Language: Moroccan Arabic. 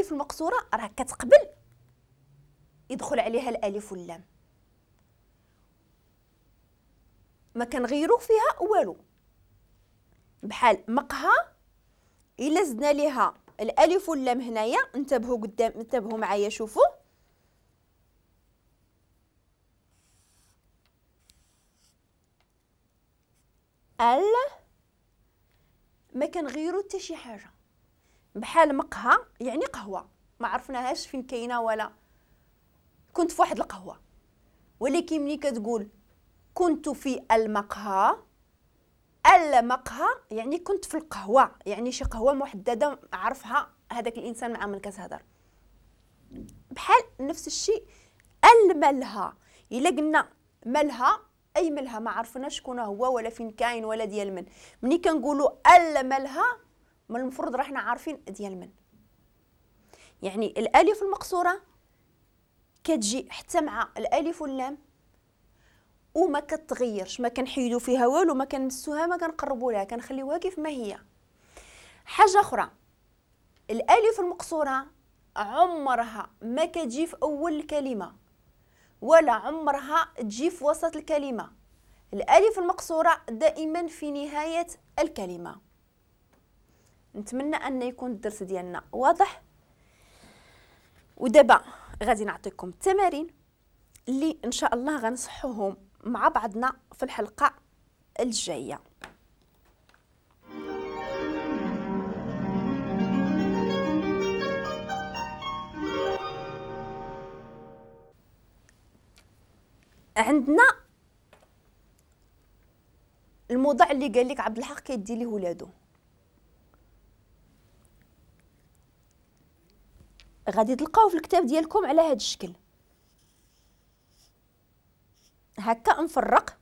الالف المقصورة راه كتقبل يدخل عليها الالف واللام، ما كنغيرو فيها والو. بحال مقهى الا زدنا ليها الالف واللام هنايا، انتبهوا قدام، انتبهوا معايا، شوفوا ال ما كنغيرو حتى شي حاجة. بحال مقهى يعني قهوة، ما عرفناهاش فين كاينه ولا كنت في واحد القهوة، ولكن ملي كتقول كنت في المقهى، المقهى يعني كنت في القهوة، يعني شي قهوة محددة عرفها هذاك الانسان مع من كتهضر. بحال نفس الشيء الملهى، الا قلنا ملهى اي ملهى ما عرفناش شكون هو ولا فين كاين ولا ديال من، ملي كنقولوا الملهى من المفروض راه حنا عارفين ديال من. يعني الالف المقصورة كتجي حتى مع الالف واللام وما كتغيرش، ما كنحيدو فيها والو، ما كنمسوها، ما كنقربوا لها، كنخليوها كيف ما هي. حاجة اخرى، الالف المقصورة عمرها ما كتجي في اول الكلمة ولا عمرها تجي في وسط الكلمة. الالف المقصورة دائما في نهاية الكلمة. نتمنى ان يكون الدرس ديالنا واضح. ودابا غادي نعطيكم التمارين اللي ان شاء الله غنصحوهم مع بعضنا في الحلقة الجاية. عندنا الموضوع اللي قال لك عبد الحق كيدي ليه ولادو، غادي تلقاوه في الكتاب ديالكم على هذا الشكل هكا مفرق.